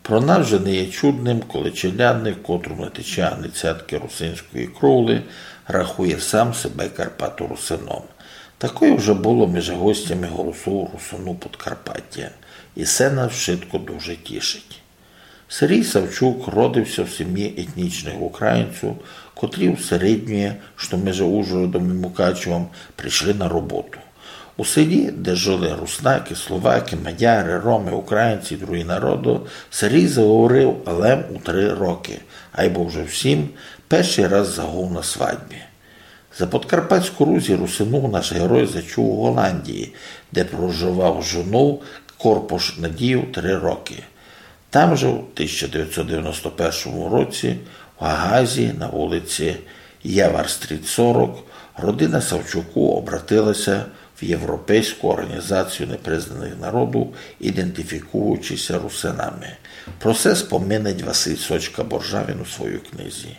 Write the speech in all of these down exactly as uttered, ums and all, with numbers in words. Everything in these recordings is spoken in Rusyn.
Про нас вже не є чудным, коли челядник, котрому не тече ані цятки русинської кровли, рахує сам себе карпаторусином. Такоє вже было межи гостями Голосу Русинув Подкарпатя. И се нас вшытко дуже тішить. Сергій Савчук родив ся в сімї етнічных українців, котрі усередньоє, што межи Ужгородом и Мукачевом, пришли на роботу. У селі, де жыли руснакы, словакы, мадяры, ромы, українці и другі народы, Сергій заговорив лем у три рокы, айбо вже в сім першый раз загув на свадьбі. За Подкарпатську Русь Русинув наш герой зачув у Голландії, де проживав з жонов Корпош Надієв три рокы. Там же в тисяча девятсот девяносто першому році в Гагазі на вулиці Єварстріт сорок родина Савчукув обратила ся в Європейську орґанізацію непризнаных народув, ідентифікуючи ся русинами. Про се споминать Василь Сочка-Боржавін у своїй книзі.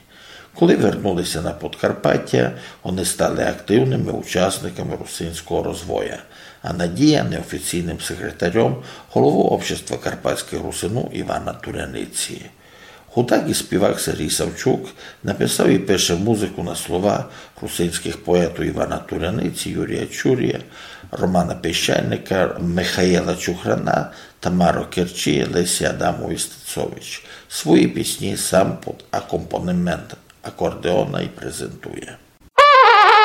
Коли вернули ся на Подкарпатя, они стали активными учасниками русинського розвоя, а Надія неофіційным секретарьом головы Общества карпатськых русинув Івана Туряниці. Гудак и співак Сергій Савчук написав и пише музыку на слова русинськых поетув Івана Туряниці, Юрія Чурія, Романа Піщальника, Михаїла Чухрана, Тамары Керчі, Лесі Адамової Стецович. Свої пісні сам під акомпанемент акордеона и презентує.